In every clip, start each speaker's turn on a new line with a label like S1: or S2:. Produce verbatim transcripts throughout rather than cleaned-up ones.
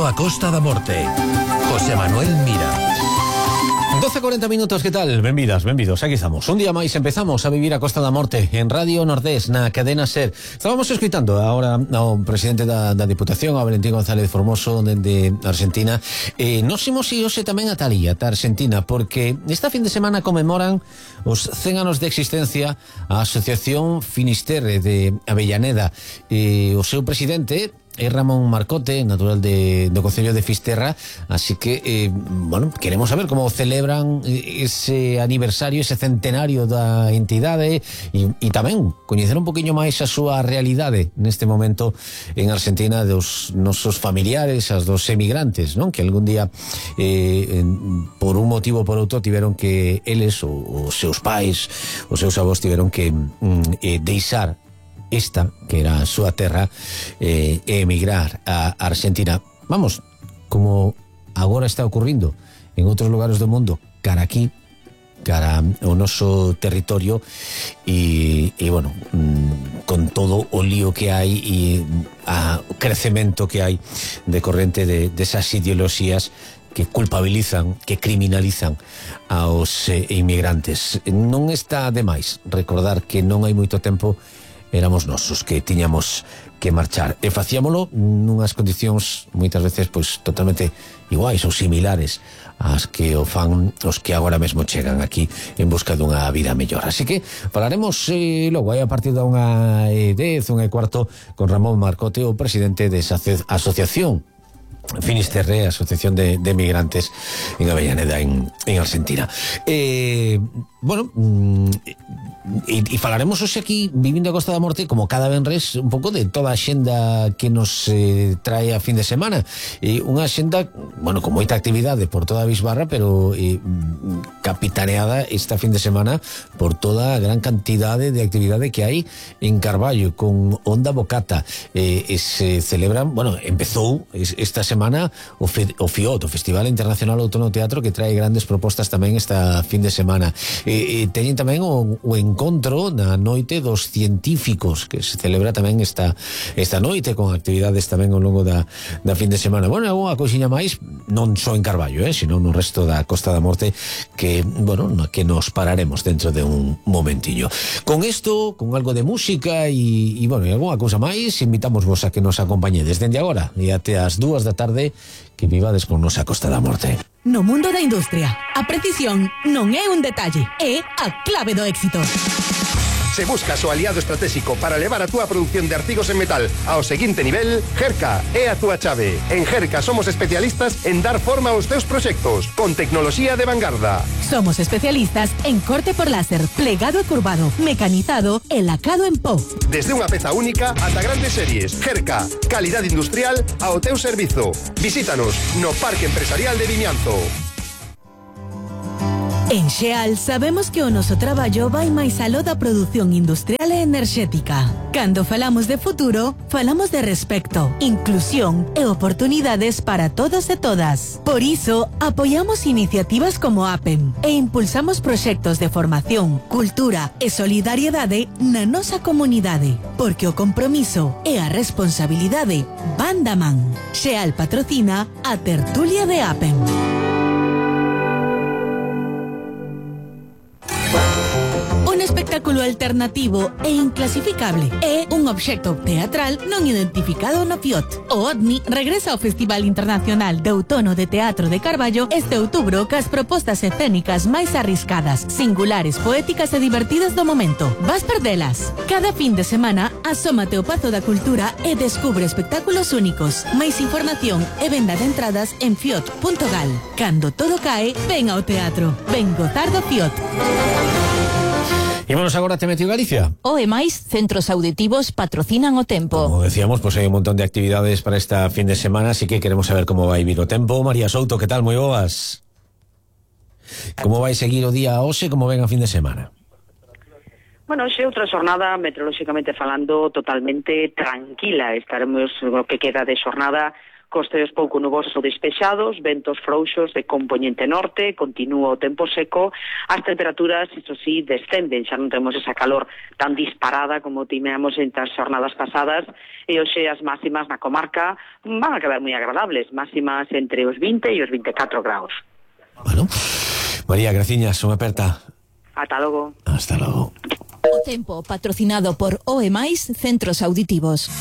S1: a Costa da Morte. José Manuel Mira.
S2: doce e cuarenta minutos, que tal? Benvidas, benvidos, aquí estamos. Un día máis empezamos a vivir a Costa da Morte en Radio Nordés, na cadena SER. Estábamos escuitando agora ao presidente da, da Diputación, a Valentín González Formoso, de Argentina. Eh, nos imos e hoxe tamén a Talía, da Argentina, porque esta fin de semana conmemoran os cen anos de existencia a Asociación Finisterre de Avellaneda. Eh, o seu presidente é Ramón Marcote, natural de, do Concello de Fisterra, así que, eh, bueno, queremos saber como celebran ese aniversario, ese centenario da entidade e, e tamén coñecer un poquinho máis a súa realidade neste momento en Argentina, dos nosos familiares, as dos emigrantes, non? Que algún día, eh, por un motivo ou por outro, tiveron que eles, ou os seus pais, os seus avós, tiveron que mm, eh, deixar esta, que era a súa terra, eh, e emigrar a Argentina. Vamos, como agora está ocurrindo en outros lugares do mundo, cara aquí, cara ao noso territorio, e, e bueno, mm, con todo o lío que hai e a, o crecemento que hai decorrente de, desas ideoloxías que culpabilizan, que criminalizan aos eh, inmigrantes. Non está de máis recordar que non hai moito tempo éramos nosos que tiñamos que marchar e facíamolo nunhas condicións moitas veces pois totalmente iguais ou similares ás que o fan os que agora mesmo chegan aquí en busca dunha vida mellor. Así que falaremos eh, logo aí a partir da unha e dez, unha e cuarto con Ramón Marcote, o presidente desa asociación Finisterre, Asociación de, de Migrantes en Avellaneda, en, en Argentina. Eh, bueno, e, e falaremos hoxe aquí, vivindo a Costa da Morte, como cada venres, un pouco de toda a xenda que nos eh, trae a fin de semana. E unha xenda, bueno, con moita actividade por toda a Bisbarra, pero eh, capitaneada esta fin de semana por toda a gran cantidade de actividade que hai en Carballo, con Onda Bocata. Eh, e se celebran, bueno, empezou esta semana semana o, F, o FIOT, o Festival Internacional Outono Teatro, que trae grandes propostas tamén esta fin de semana. E, e teñen tamén o, o encontro na noite dos científicos, que se celebra tamén esta esta noite, con actividades tamén ao longo da, da fin de semana. Bueno, alguna cousiña máis, non só en Carballo, eh, sino no resto da Costa da Morte, que, bueno, que nos pararemos dentro de un momentiño. Con isto, con algo de música e, e bueno, e alguna cousa máis, invitamos vos a que nos acompañedes dende agora e até as dúas da tarde, que vivades con nosa Costa da Morte.
S3: No mundo da industria, a precisión non é un detalle, é a clave do éxito.
S4: Se buscas o aliado estratégico para levar a túa produción de artigos en metal ao seguinte nivel, Gerca é a túa chave. En Gerca somos especialistas en dar forma aos teus proxectos, con tecnoloxía de vanguarda.
S3: Somos especialistas en corte por láser, plegado e curvado, mecanizado e lacado en pó.
S4: Desde unha peza única ata grandes series. Gerca, calidad industrial ao teu servizo. Visítanos no Parque Empresarial de Vimianzo.
S3: En Xeal sabemos que o noso traballo vai máis aló da produción industrial e enerxética. Cando falamos de futuro, falamos de respecto, inclusión e oportunidades para todos e todas. Por iso, apoiamos iniciativas como APEM e impulsamos proxectos de formación, cultura e solidariedade na nosa comunidade, porque o compromiso e a responsabilidade van da man. Xeal patrocina a tertulia de APEM. Espectáculo alternativo e inclasificable é un obxecto teatral non identificado no FIOT. O OVNI regresa ao Festival Internacional de Outono de Teatro de Carballo este outubro cas propostas escénicas máis arriscadas, singulares, poéticas e divertidas do momento. Vas perdelas. Cada fin de semana asómate ao Pazo da Cultura e descubre espectáculos únicos. Máis información e venda de entradas en fiot punto gal. Cando todo cae, ven ao teatro. Ven gozar do FIOT.
S2: Ímonos agora a Temeteo Galicia.
S5: O e máis, centros auditivos patrocinan o tempo.
S2: Como decíamos, pues hai un montón de actividades para esta fin de semana, así que queremos saber como vai vir o tempo. María Souto, que tal? Moi boas. Como vai seguir o día hoxe, como ven a fin de semana?
S6: Bueno, xe outra xornada, meteorolóxicamente falando, totalmente tranquila. Estaremos o que queda de xornada cos ceos pouco nubosos ou despexados, ventos frouxos de compoñente norte, continúa o tempo seco, as temperaturas, iso sí, descenden, xa non temos esa calor tan disparada como tiñamos en as xornadas pasadas, e hoxe as máximas na comarca van a quedar moi agradables, máximas entre os vinte e os vinte e catro graus.
S2: Bueno, María, graciñas, unha aperta.
S6: Ata logo.
S2: Hasta logo.
S5: O tempo patrocinado por O E Mais Centros Auditivos.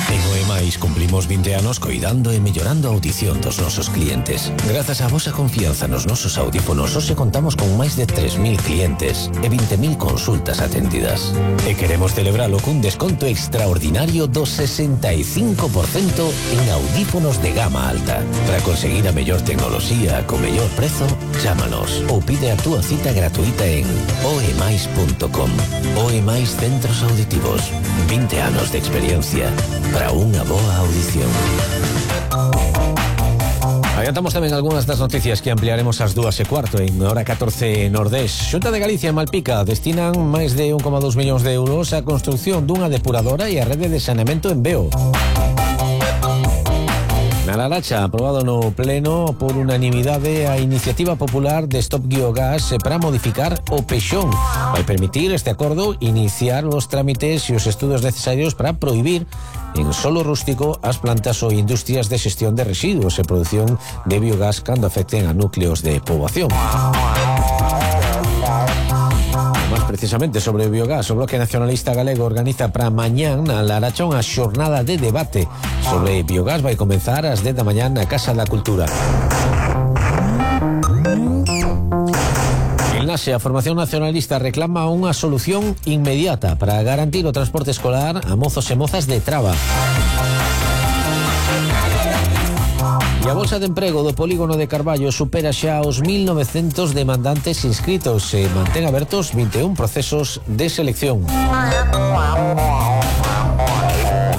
S1: En O E Mais cumplimos vinte anos coidando e mellorando a audición dos nosos clientes. Grazas á vosa confianza nos nosos audífonos, hoxe contamos con máis de tres mil clientes e vinte mil consultas atendidas. E queremos celebralo cun desconto extraordinario do sesenta e cinco por cento en audífonos de gama alta. Para conseguir a mellor tecnoloxía co mellor prezo, chámanos ou pide a túa cita gratuita en oemais punto com. O E Mais Centros Auditivos. vinte anos de experiencia para unha boa audición.
S2: Adiantamos tamén algunhas das noticias que ampliaremos ás dúas e cuarto en hora catorce Nordés. Xunta de Galicia e Malpica destinan máis de un coma dous millóns de euros á construción dunha depuradora e a rede de saneamento en Veo. Na Laracha, aprobado no Pleno por unanimidade a iniciativa popular de Stop Biogás para modificar o Pexón. Vai permitir este acordo iniciar os trámites e os estudos necesarios para prohibir en solo rústico as plantas ou industrias de xestión de residuos e produción de biogás cando afecten a núcleos de poboación. Más precisamente sobre o biogás, o Bloque Nacionalista Galego organiza para mañán na Laracha unha xornada de debate sobre biogás. Vai comenzar ás dez da mañán na Casa da Cultura. En Nase, a Formación Nacionalista reclama unha solución inmediata para garantir o transporte escolar a mozos e mozas de Traba. E a Bolsa de Emprego do Polígono de Carballo supera xa os mil novecentos demandantes inscritos e mantén abertos vinte e un procesos de selección.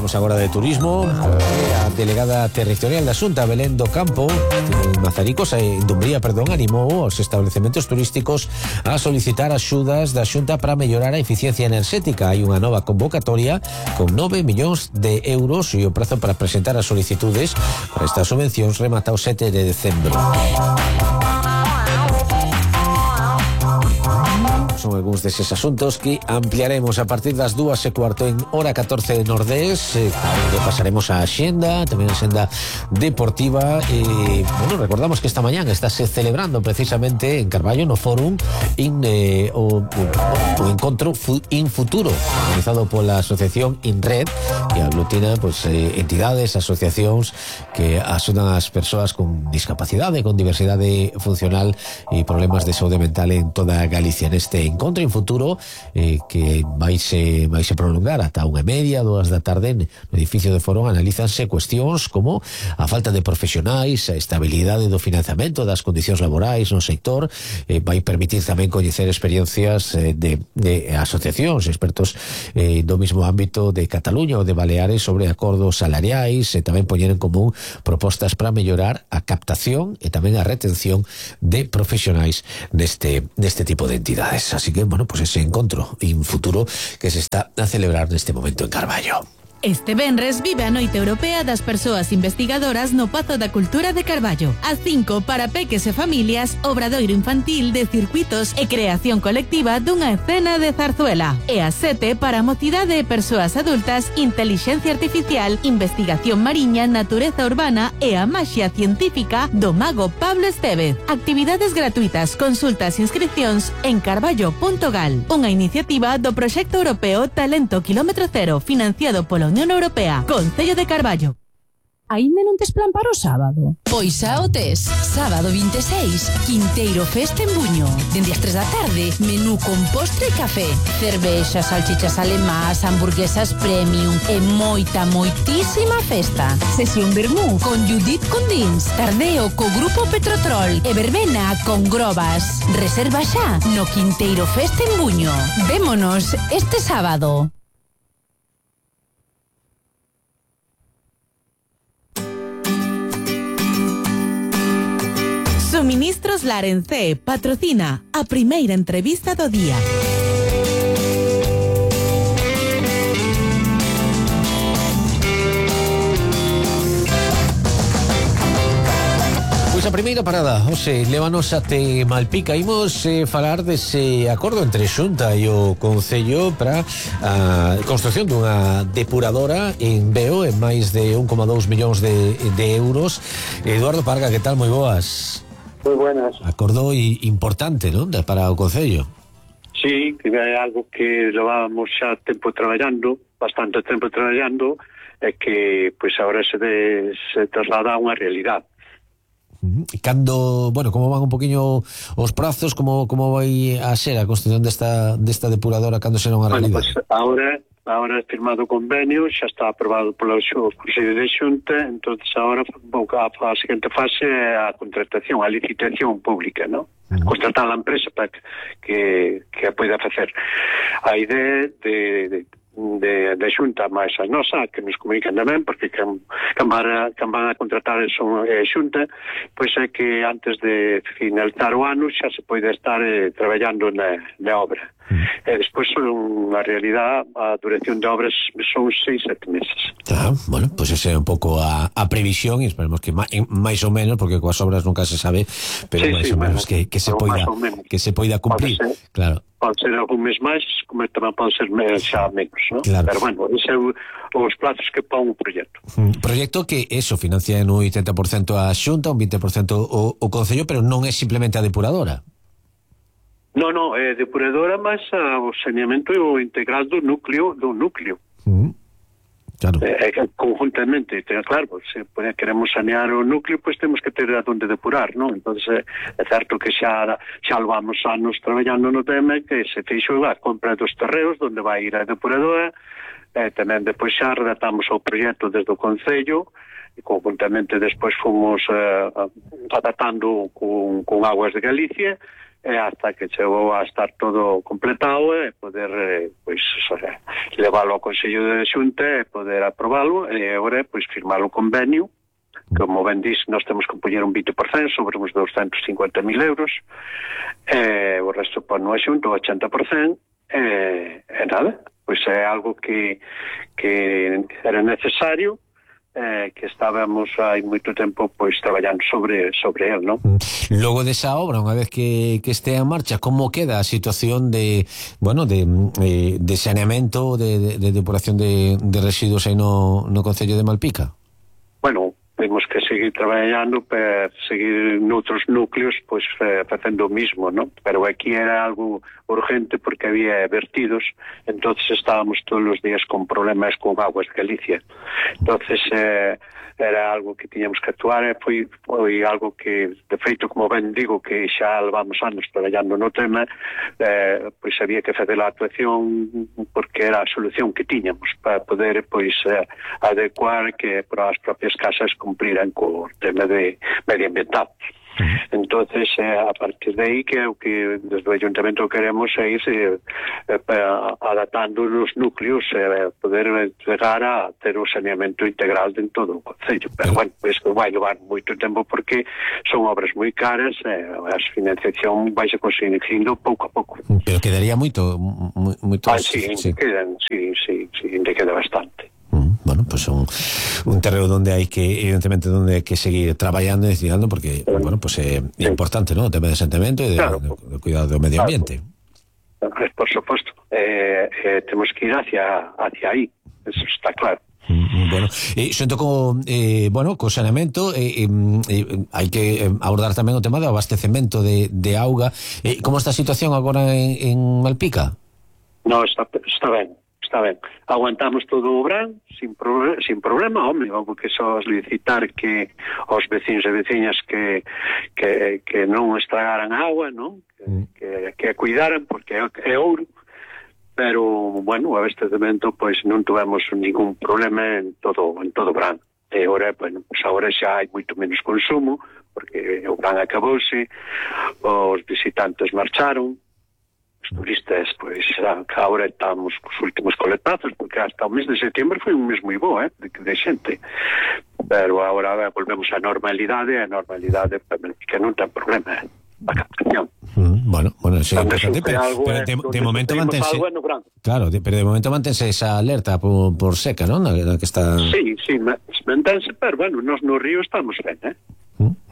S2: Vamos agora de turismo. A delegada territorial da Xunta, Belén do Campo, en Mazaricos, en Dumbría, perdón, animou os establecementos turísticos a solicitar axudas da Xunta para mellorar a eficiencia enerxética. Hai unha nova convocatoria con nove millóns de euros e o prazo para presentar as solicitudes para estas subvencións remata o sete de decembro. Son algúns deses asuntos que ampliaremos a partir das dúas e cuarto en hora catorce de Nordés. Eh, pasaremos a Xenda, tamén a Xenda deportiva. E, bueno, recordamos que esta mañán estáse celebrando precisamente en Carballo, no Fórum, in, eh, o, o, o encontro In Futuro, organizado pola asociación InRed, que aglutina pues, eh, entidades, asociacións que axudan as persoas con discapacidade, con diversidade funcional e problemas de saúde mental en toda Galicia. Neste encontro In Futuro, eh, que vaise, vaise prolongar ata unha e media, dúas da tarde no edificio de Foro, analízanse cuestións como a falta de profesionais, a estabilidade do financiamento, das condicións laborais no sector. Eh, vai permitir tamén coñecer experiencias eh, de, de asociacións, expertos eh, do mismo ámbito de Cataluña ou de Baleares sobre acordos salariais, e tamén poñer en común propostas para mellorar a captación e tamén a retención de profesionais neste, neste tipo de entidades. Así que, bueno, pues ese encontro In Futuro que se está a celebrar neste momento en Carballo.
S3: Este venres vive a Noite Europea das Persoas Investigadoras no Pazo da Cultura de Carballo. A cinco para peques e familias, obradoiro infantil de circuitos e creación colectiva dunha escena de zarzuela. E a sete para mocidade e persoas adultas, intelixencia artificial, investigación mariña, natureza urbana e a maxia científica do mago Pablo Estevez. Actividades gratuitas, consultas e inscripcións en carballo punto gal. Unha iniciativa do Proxecto Europeo Talento Kilómetro Cero, financiado polo Unión Europea, Concello de Carballo.
S7: Aínda non tes plan para o sábado?
S5: Pois xa o tes. Sábado vinte e seis, Quinteiro Festa en Buño. Dende as tres da tarde, menú con postre e café. Cervexas, salchichas alemás, hamburguesas premium e moita, moitísima festa.
S7: Sesión vermú
S5: con Judith Condins, tardeo co Grupo Petrotrol e verbena con Grobas. Reserva xa no Quinteiro Festa en Buño. Vémonos este sábado.
S3: Suministros Larencé patrocina a primeira entrevista do día.
S2: nosa primeira parada, Ose, lévanos até Malpica. Imos eh, falar dese acordo entre Xunta e o Concello para a construción dunha depuradora en Veo en máis de un coma dous millóns de, de euros. Eduardo Parga, que tal? Moi boas.
S8: Moi buenas.
S2: Acordo i, importante, non? Para o Concello.
S8: Sí, que é algo que levábamos xa tempo traballando, bastante tempo traballando, e que pois agora se, de, se traslada a unha realidade.
S2: E cando, bueno, como van un poquinho os prazos, como como vai a ser a construción desta desta depuradora cando será unha realidade?
S8: Bueno, pues agora agora é firmado o convenio, xa está aprobado polo Consello de Xunta, entonces agora a, a seguinte fase é a contratación, a licitación pública, ¿no? Uh-huh. Contratar a empresa para que que, que a poida facer. A idea de, de de, de Xunta máis a nosa, que nos comunican tamén, porque can, can, van, a, can van a contratar son eh, Xunta, pois é que antes de finalizar o ano xa se pode estar eh, traballando na, na obra. Mm. E despois, na realidade, a duración de obras son seis, sete meses.
S2: Ah, bueno, pois pues esa é un pouco a, a previsión, e esperemos que máis ou menos, porque coas obras nunca se sabe, pero sí, máis sí, ou menos bueno, que, que se poida que se poida cumplir, claro.
S8: Pode ser algún mes máis, como tamén pode ser xa menos, ¿no?
S2: Claro.
S8: Pero bueno, ese é os plazos que pon o proxecto.
S2: Un proxecto que eso financia en un oitenta por cento a Xunta, un vinte por cento o, o Concello, pero non é simplemente a depuradora.
S8: No, no, é depuradora máis o saneamento e o integral do núcleo, do núcleo.
S2: Mm. Claro.
S8: É que conjuntamente, claro, se queremos sanear o núcleo, pois temos que ter a donde depurar, non? Entón, é certo que xa xa levamos anos traballando no tema, que se fixo a compra dos terreos onde vai ir a depuradora, e tamén depois xa redactamos o proxecto desde o Concello, e conjuntamente despois fomos uh, adaptando con, con Aguas de Galicia, e hasta que chegou a estar todo completado e poder eh, pois eh, leválo ao Consello de Xunta e poder aprobalo e agora pois firmar o convenio. Como ben dis, nós temos que poñer un vinte por cento sobre uns doscientos cincuenta mil euros e o resto pon no Xunta o ochenta por cento e, e nada, pois é algo que, que era necesario, Eh, que estábamos hai moito tempo pois traballando sobre sobre el, non?
S2: Logo desa obra, unha vez que, que estea en marcha, como queda a situación de, bueno, de, eh, de saneamento, de, de, de depuración de, de residuos aí no, no Concello de Malpica?
S8: Bueno, temos que seguir traballando para seguir noutros núcleos pois eh, facendo o mismo, non? Pero aquí era algo urgente porque había vertidos, entonces estábamos todos os días con problemas con Aguas de Galicia. Entonces eh, era algo que tiñamos que actuar e foi, foi algo que, de feito, como ben digo, que xa levamos anos traballando no tema, eh, pois había que fazer a actuación porque era a solución que tiñamos para poder pois eh, adecuar que para as propias casas cumpliran co tema de medioambiental. Entonces, eh, a partir de aí, que é o que desde o Ayuntamento queremos é ir eh, eh, adaptando os núcleos e eh, poder chegar a ter o saneamento integral en todo o Concello. Pero, bueno, isto vai levar moito tempo porque son obras moi caras e eh, a financiación vai se conseguindo pouco a pouco.
S2: Pero quedaría moito... moito
S8: ah, sí, sí. Quedan, sí, sí, sí, queda bastante.
S2: Bueno, pues un, un terreno donde hay que, evidentemente, donde hay que seguir traballando e destinando, porque, bueno, pues é eh, importante, ¿no? O tema de saneamento e de, claro, de, de cuidado do medio ambiente.
S8: Claro. Por suposto. Eh, eh, temos que ir hacia, hacia aí, eso está claro.
S2: Mm, bueno, e xunto co, eh, bueno, co saneamento eh, eh, hai que abordar tamén o tema do abastecemento de, de auga. Eh, como está a situación agora en, en Malpica?
S8: No, está, está ben. Está ben, aguantamos todo o verán sin, pro, sin problema, home, porque só licitar que os vecinos e veciñas que, que, que non estragaran agua, non? Que, que, que a cuidaran, porque é, é ouro, pero, bueno, o abastecemento, pois non tuvemos ningún problema en todo en todo o verán. E agora, bueno, pues agora xa hai moito menos consumo, porque o verán acabouse, os visitantes marcharon, os turistas, pois, agora estamos cos últimos coletazos, porque hasta o mes de setembro foi un mes moi bo, eh, de, de xente. Pero agora volvemos á normalidade, a normalidade que non ten problema, eh, a captación.
S2: Mm, bueno, bueno, eso é importante, pero, pero de, de momento mantense... Claro, de, pero de momento mantense esa alerta por, por seca, non? Na, na que está...
S8: Sí, sí, mantense, pero, bueno, nos no río estamos ben, eh?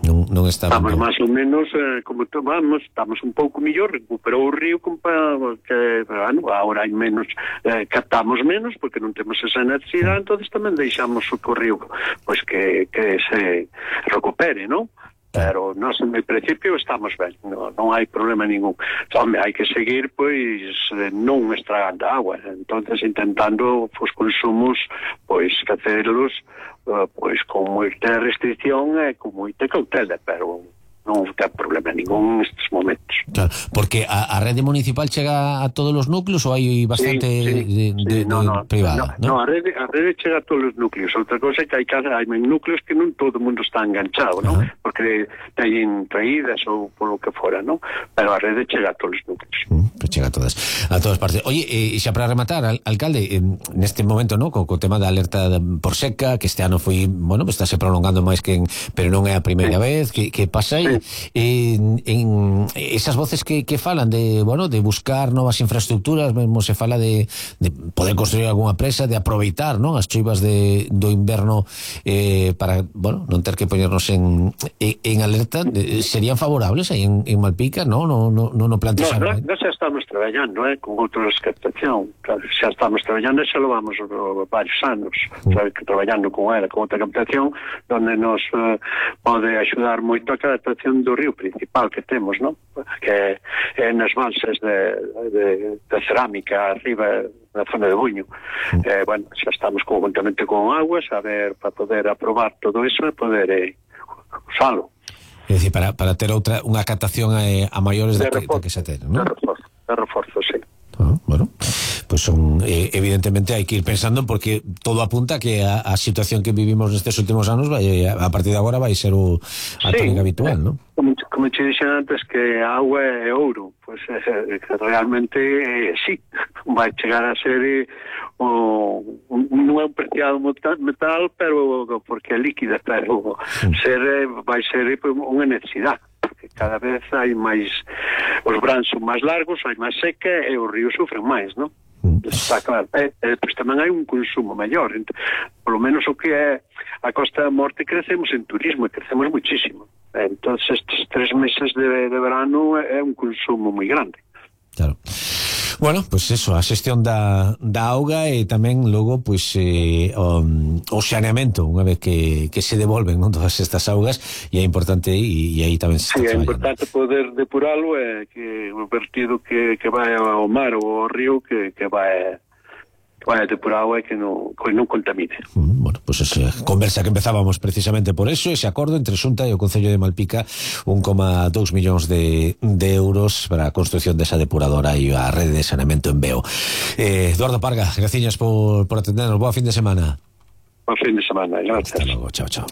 S2: Non, non, non está
S8: estamos
S2: ben.
S8: máis ou menos eh, como tomamos, estamos un pouco mellor, recuperou o río compa, que, bueno, agora hai menos, eh, captamos menos porque non temos esa necesidade, entonces tamén deixamos o río pois que, que se recupere, non? Pero nós en principio estamos ben, non, non hai problema ningún. Home, hai que seguir pois non estragando agua, entonces intentando os consumos pois facelos uh, pois con moita restricción e con moita cautela, pero non ten problema ningún nestes momentos.
S2: Claro, porque a, a rede municipal chega a todos os núcleos ou hai bastante
S8: sí, sí,
S2: de, de,
S8: sí, no,
S2: de
S8: no,
S2: privada?
S8: No,
S2: ¿no?
S8: no, a rede, a rede chega a todos os núcleos. Outra cosa é que hai, hai núcleos que non todo o mundo está enganchado, ¿no? Porque teñen traídas ou polo que fora, ¿no? Pero a rede chega a todos os núcleos.
S2: Mm, que chega a todas, a todas partes. Oye, e eh, xa para rematar, al, alcalde, eh, neste momento, ¿no? Co, co tema da alerta por seca, que este ano foi, bueno, pues estáse prolongando máis que en, pero non é a primeira sí. vez, que, que pasa aí? Sí. En, en esas voces que, que falan de, bueno, de buscar novas infraestructuras, mesmo se fala de, de poder construir algunha presa, de aproveitar, ¿no? As choivas de, do inverno eh, para, bueno, non ter que poñernos en, en, en alerta, eh, serían favorables aí en, en Malpica, ¿no? No, no, no, no plantean.
S8: No, no, xa estamos traballando, eh, con outras captación, claro, xa estamos traballando e xa lo vamos uh, varios anos, mm. traballando con ela, con outra captación, donde nos uh, pode axudar moito a captación do río principal que temos, ¿no? Que é nas balsas de, de, de cerámica arriba na zona de Buño. Mm. Eh, bueno, xa estamos conjuntamente con aguas a ver, para poder aprobar todo eso e poder eh, usalo.
S2: É dicir, para, para ter outra unha captación a, a maiores de,
S8: de,
S2: que, de que se ten, ¿no?
S8: De reforzo, de reforzo, sí.
S2: Ah, bueno, pues son eh, evidentemente hai que ir pensando porque todo apunta que a, a situación que vivimos nestes últimos anos vai, a partir de agora vai ser o a sí, tónica habitual, ¿no?
S8: Como, como te dixen antes que a agua é ouro, pues eh, realmente eh, sí, vai chegar a ser eh, o, un, non é un preciado metal, pero porque é líquida, pero sí. ser, eh, vai ser eh, unha necesidade. Cada vez hai máis, os brans son máis largos, hai máis seca e os ríos sufren máis, non? Mm. Está claro. E, e pois tamén hai un consumo maior. Por lo menos o que é a Costa da Morte crecemos en turismo e crecemos muchísimo. Entonces estes tres meses de, de verano é un consumo moi grande.
S2: Claro. Bueno, pues eso, a xestión da, da auga e tamén logo pues eh, o, o saneamento unha vez que, que se devolven, non, todas estas augas, e é importante e, e aí tamén se está
S8: sí,
S2: traballando.
S8: É importante poder depuralo e que o vertido que, que vai ao mar ou ao río que, que vai vai depurado e que non, que non contamine.
S2: Mm, bueno, pues esa conversa que empezábamos precisamente por eso, ese acordo entre Xunta e o Concello de Malpica, un coma dous millóns de, de euros para a construción desa depuradora e a rede de saneamento en Veo. Eh, Eduardo Parga, graciñas por, por atendernos. Boa fin de semana.
S8: Boa fin de semana, gracias.
S2: Hasta logo, chao, chao.